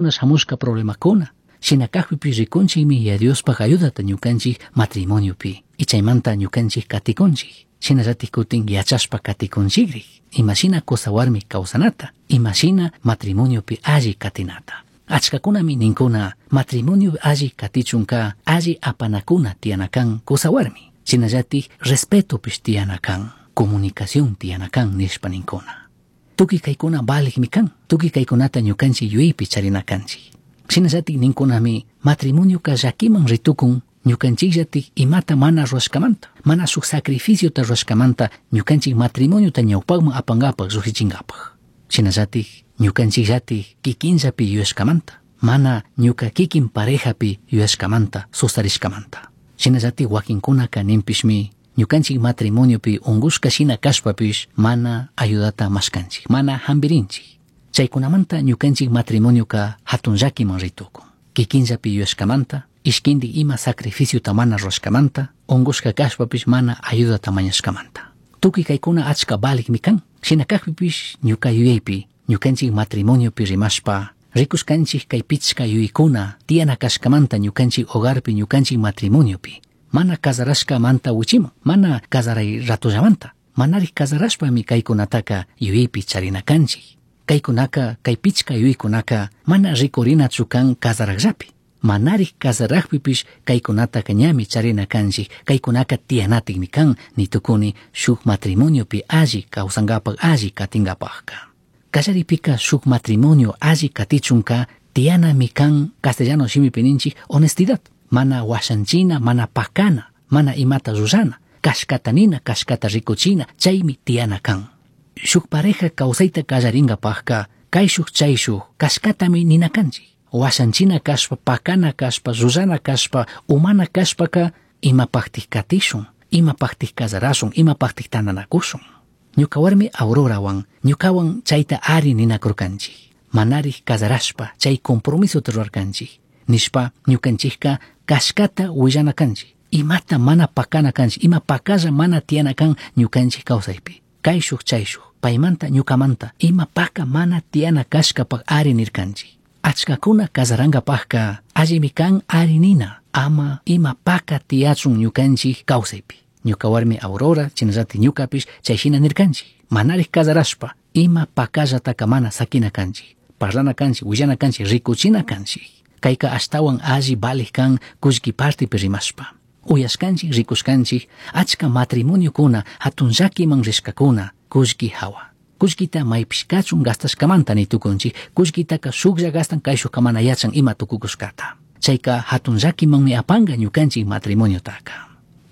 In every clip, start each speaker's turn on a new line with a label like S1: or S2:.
S1: Shamushka problemakuna. Shina kakpipish rikunchikmi Yaya Diospaj ayudata ñukanchik matrimoniopi. Y chaymanta ñukanchik katikunchik. Shinallatik kutin yachashpa katikunchikrik. Imashina kusawarmi kawsanata, imashina matrimoniopi alli katinata. Achkakunami ninkuna matrimonio alli katichunka alli apanakuna tiyana kan kusawarmi. Shinallatik respetopish tiyana kan, comunicación tiyana kan nishpa ninkuna. Tukuy kaykuna valikmi kan, tukuy kaykunata ñukanchik yuyaypi charina kanchik. Shinallatik ninkunami matrimonioka llakiman ritukun ñukanchikllatik imata mana rurashkamanta, mana shuk sacrificiota rurashkamanta ñukanchik matrimoniota ñawpakman apankapak llukshichinkapaj. Shinallatik ñukanchikllatik kikinllapi yuyashkamanta, mana ñuka kikin parejapi yuyashkamanta, sustarishkamanta. Shinallatik wakinkunaka ninpishmi ñukanchik matrimoniopi ungushka shina kashpapish mana ayudata mashkanchik, mana hampirinchik. Chaykunamanta ñukanchik matrimonioka hatun llakiman ritukun. Kikinllapi yuyashkamanta, ishkindik ima sacrificiota mana rurashkamanta, ungushka kashpapish mana ayudata mañashkamanta. Tukuy kaykuna achka valikmi kan. Shina kakpipish ñuka yuyaypi, ñukanchik matrimoniopi rimashpa, rikushkanchik kay pichka yuyaykuna tiyana kashkamanta ñukanchik hogarpi, ñukanchik matrimoniopi. Mana kazarashkamanta wichiman, mana kazaray ratullamanta. Manarik kazarashpami kaykunataka yuyaypi charina kanchik. Kaykunaka, kay pichka yuyaykunaka mana rikurinachu kan kazarakllapi. Manarik kazarakpipish kaykunataka ñami charina kanchik, kaykunaka tiyanatikmi kan nitukuni shuk matrimoniopi alli kawsankapak, alli katinkapakka. Kallaripika shuk matrimonio alli katichunka tiyanami kan castellano shimipi ninchik honestidad. Mana washanchina, mana pakana, mana imata rurana, kashkata nina, kashkata rikuchina, chaymi tiyana kan. Shuk pareja kawsayta kallarinkapakka kayshuk chayshuk kashkatami nina kanchik. Washanchina kashpa, pakana kashpa, rurana kashpa, umana kashpaka imapaktik katishun, imapaktik kazarashun, imapaktik tantanakushun. Ñuka warmi Aurorawan, ñukawan chayta ari ninakurkanchik. Manarik kazarashpa chay compromisota rurarkanchik. Nishpa ñukanchikka kashkata willana kanchik. Imata mana pakana kanchik, ima pakalla mana tiyana kan ñukanchik kawsaypi. Kayshuk chayshuk, paymanta ñukamanta, ima paka mana tiyana kashkapak ari nirkanchik. Achkakuna kazarankapakka allimi kan ari nina, ama ima paka tiyachun ñukanchik kawsaypi. Ñuka warmi Aurora, chinallatik ñukapish chay shina nirkanchik. Manarik kazarashpa, ima pakallataka mana sakina kanchik. Parlana kanchik, willana kanchik, rikuchina kanchik. Kayka ashtawan alli valik kan kullki partipi rimashpa. Uyashkanchik, rikushkanchik, achka matrimoniokuna, hatun llakiman rishkakuna, kullki hawa. Kullkita maypish kachun gastashkamanta nitukunchik, kullkitaka shuklla gastan kayshukka mana yachan ima tukukushkata. Chayka hatun llakimanmi apanka ñukanchik matrimoniotaka.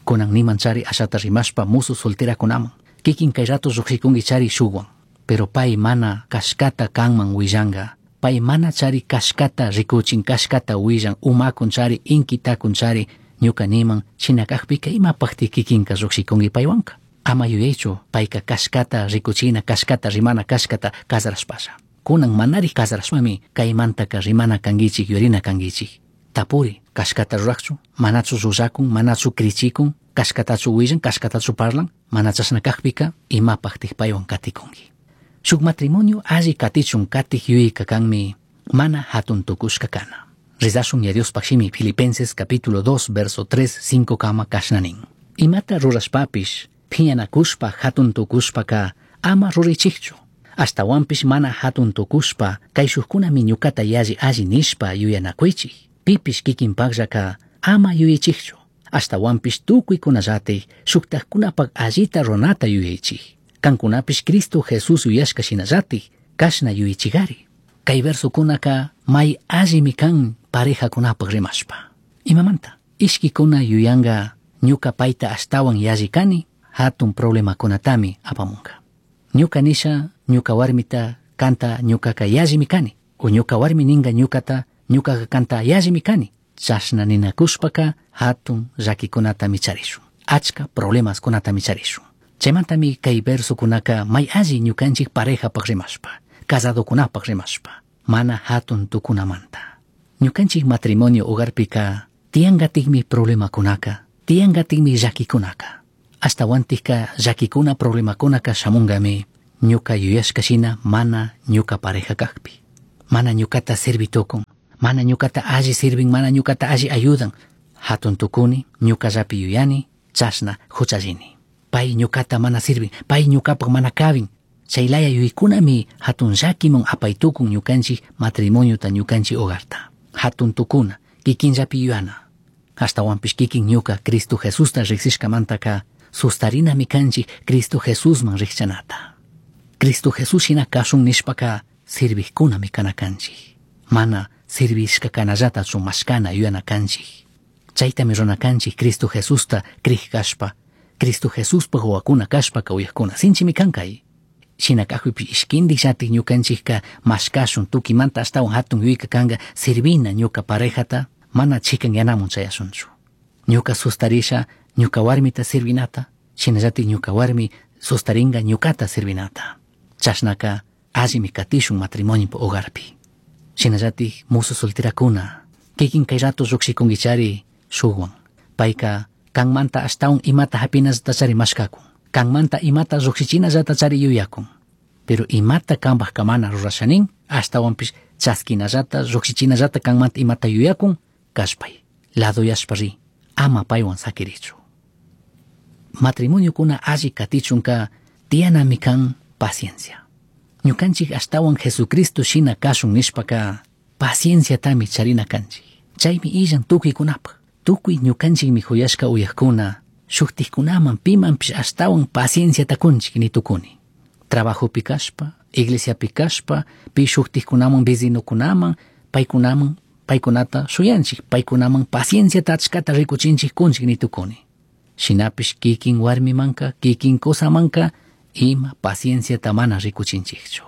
S1: Kunan niman chari ashata rimashpa musu solterakunaman. Kikin kay rato llukshikunki chari shukwan. Pero pay mana kashkata kanman willanka. Pay mana chari kashkata rikuchin, kashkata willan, umakun chari, inkitakun chari, ñuka niman, shina kakpika imapakti kikinka llukshikunki paywanka. Ama yuyaychu payka kashkata rikuchina, kashkata rimana, kashkata kazarashpasha. Kunan manarik kazarashpami kaymantaka rimana kankichik, yuyarina kankichik. Tapuri, kashkata rurakchu, manachu rurакun, manachu krichikun, kashkatachu willan, kashkatachu parlan, mana chashna kakpika imapaktik paywan katikunki. Shuk matrimonio alli katichun katik yuyayka kanmi mana hatun tukushka kana. Rezashun ya Diospaj shimi Filipenses capítulo 2 verso 3 5 kama kashna nin. Imata rurashpapish phiñanakushpa hatun tukushpaka ama ruraychikchu. Ashtawanpish mana hatun tukushpa kayshukkunami ñukata yalli alli nishpa yuyanakuychik. Pipish kikinpakllaka ama yuyaychikchu. Ashtawanpish tukuykunallatik shuktakkunapak allita runata yuyaychik. Kankunapish Cristo Jesús yuyashka shinallatik kashna yuyaychikari. Kay versokunaka may allimi kan parejakunapak rimashpa. Imamanta? Ishkikuna yuyanka ñuka payta ashtawan yalli kani, hatun problemakunatami apamunka. Ñuka nisha, ñuka warmita kanta ñukaka yallimi kani. O ñuka warmi ninka ñukata, ñukaka kanta yallimi kani. Chashna ninakushpaka hatun llakikunatami charishun. Achka problemaskunatami charishun. Chaymantami kay versokunaka may alli ñukanchik parejapak rimashpa, casadokunapak rimashpa, mana hatun tukunamanta. Ñukanchik matrimonio hogarpika tiyankatikmi problemakunaka, tiyankatikmi llakikunaka. Ashtawantikka llakikuna problemakunaka shamunkami ñuka yuyashka shina mana ñuka pareja kakpi. Mana ñucata sirvi tukun, mana ñucata alli sirvin, mana ñucata alli ayudan. Hatun tukuni, ñucallapi yuyani, chashna huchallini. Pay ñucata mana sirvin, pay ñucapak mana kabin. Chaylaya yuykunami hatun llakiman apaytukun ñukanchik matrimoniota ñukanchik hogarta. Hatun tukuna, kikinllapi yuyana. Ashtawanpish kikin ñuka Cristo Jesusta riksishkamantaka sustarinami kanchik Cristo Jesusman rikchanata. Cristo Jesús shina kashun nishpaka sirvijkunami kana kanchik. Mana sirvishka kanallatachu mashkana yuyana kanchik. Chaytami runa kanchik Cristo Jesusta krij kashpa, Cristo Jesuspaj wawakuna kashpaka uyajkuna sinchimi kankay. Shina kajpipish ishkindik llatik ñukanchikka mashkashun tukimanta ashtawan hatun yuyayka kanka sirvina ñuka parejata mana chikanyanamun chayashunchu. Ñuka sustarisha ñuka warmita sirvinata, shinallatik ñuka warmi sustaringa ñukata sirvinata. Chashnaka allimi katishun matrimonio hogarpi. Shinallatik musu solterakuna, kikin kay rato llukshikunkichari shukwan. Payka kanmanta ashtawan imata hapinallata chari mashkakun. Kanmanta imata lluksichinallata chari yuyakun. Pero imata kanpaj kamana rurashanin, ashtawanpish chaskinallata lluksichinallata kanmanta imata yuyakun, kashpay, ladoyashpa ri, ama paywan sakirichu. Matrimoniokuna alli katichunka tiyanami kan paciencia. Ñukanchik ashtawan Jesucristo shina kashun nishpaka pacienciatami charina kanchik. Chaymi illan tukuykunapaj. Tukuy ñukanchikmi huyashka uyajkuna, shuktikkunaman pimanpish ashtawan pacienciata kunchik ni tukuni. Trabajopi kashpa, iglesiapi kashpa, pi shuktikkunaman vecinokunaman, paykunaman, paykunata shuyanchik, paykunaman pacienciata achkata rikuchinchik kunchik ni tukuni. Shinapish kikin warmimanka, kikin kusamanka, ima pacienciata mana rikuchinchikchu.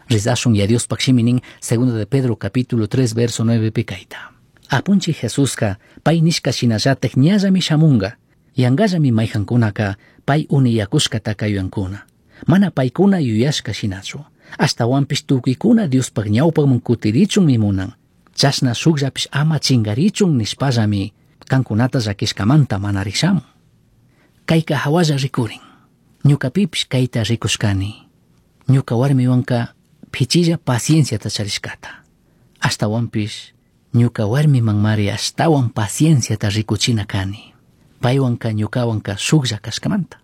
S1: Rezashun ya Diospaj shimi nin, segundo de Pedro capítulo 3 verso 9 pi kayta. Apunchik Jesuska pay nishka shinallatak ñallami shamunga, yangallami mayjankunaka pay uniyakushkataka yuyankuna. Mana paykuna yuyashka shinachu. Ashtawanpish tukuykuna Diospaj ñawpakman kutirichunmi munan. Chashna shukllapish ama chingarichun nishpallami kankunata llakishkamanta mana rikshamun. Kayka hawalla rikurin. Ñukapipish kayta rikushkani. Ñuka warmiwanka pichilla pacienciata charishkata. Ashtawanpish ñuka warmimanmari ashtawan pacienciata rikuchina kani. Paywanka ñukawanka shuklla kashkamanta.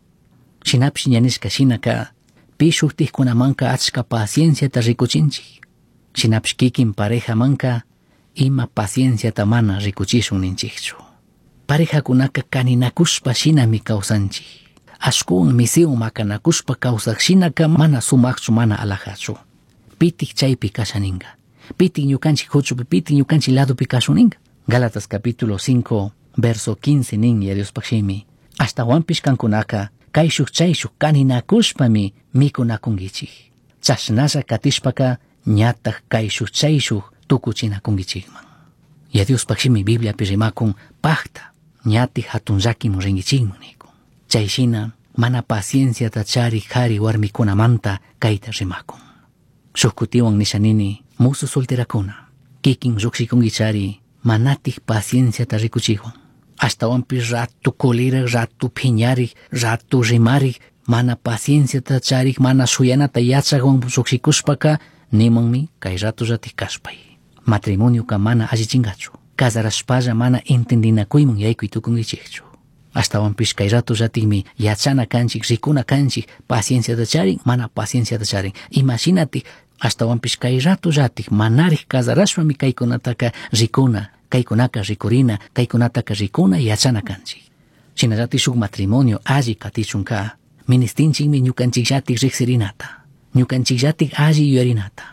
S1: Shinapish ña nishka shinaka pi shuktikkunamanka achka pacienciata rikuchinchik. Shinapish kikin parejamanka ima pacienciata mana rikuchishun ninchikchu. Parejakunaka kaninakushpa shinami kawsanchik. Ashkuwan misiwan makanakushpa kawsaq shinaka mana sumakchu mana alajachu. Pitik chaypi kashaninka. Pitik ñukanchik huchupi, pitik ñukanchik ladopi kashuninka. Gálatas capítulo 5, verso 15 nin ya Diospaj shimi. Ashtawanpish kankunaka kayshuk chayshuk kaninakushpami mikunakunkichik. Chashnalla katishpaka ñataj kayshuk chayshuk tukuchinakunkichikman. Ya Diospaj shimi Bibliapi rimakun pajta ñatik hatun llakimun rinkichikman nikun. Chay shina mana pacienciata charik kari warmikunamanta kayta rimakun. Shuk kutiwan nisha nini musu solterakuna kikin llukshikunkichari manatik pacienciata rikuchikwan. Ashtawanpish ratu kulirak, ratu phiñarik, ratu rimarik, mana pacienciata charik, mana shuyanata yachakwan llukshikushpaka nimanmi kay ratullatik kashpay. Matrimonioka mana allichinkachu. Casarashpalla mana entendinakuyman yaykuy tukunkichikchu. Ashtawanpish kay ratullatikmi yachana kanchik, rikuna kanchik, pacienciata charin, mana pacienciata charin. Imashinatik ashtawanpish kay ratullatik manarik casarashpami kaykunataka rikuna, kaykunaka rikurina, kaykunataka rikuna yachana kanchik. Shinallatik shuk matrimonio alli katichunka, ministinchikmi ñukanchikllatik riksirinata, ñukanchikllatik alli yuyarinata.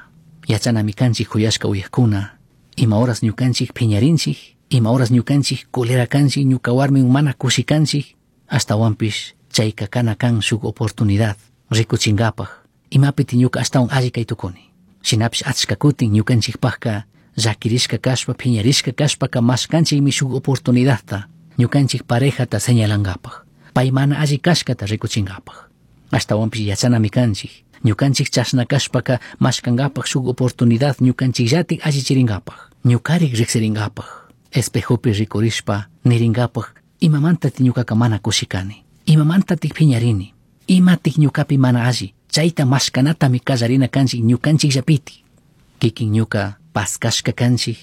S1: Yachanami kanchik huyashka uyajkuna, ima horas ñukanchik phiñarinchik, ima horas ñukanchik culera kanchik, ñuka warmi mana kushi kanchik, ashtawanpish chayka kana kan shuk oportunidad rikuchinkapaj, imapiti ñuka ashtawan alli kay tukuni. Shinapish achka kutin ñukanchikpajka llakirishka kashpa, phiñarishka kashpaka mashkanchikmi shuk oportunidadta ñukanchik parejata señalankapaj, pay mana alli kashkata rikuchinkapaj. Ashtawanpish yachanami kanchik, ñukanchik chashna kashpaka mashkankapaj shuk oportunidad ñukanchikllatik allichirinkapaj, ñukarik riksirinkapaj, espejopi rikurishpa nirinkapaj imamantatik ñukaka mana kushikani, imamantatik phiñarini, imatik ñukapi mana alli, chayta mashkanatami kallarina kanchik ñukanchikllapitik. Kikin ñuka paskashka kanchik.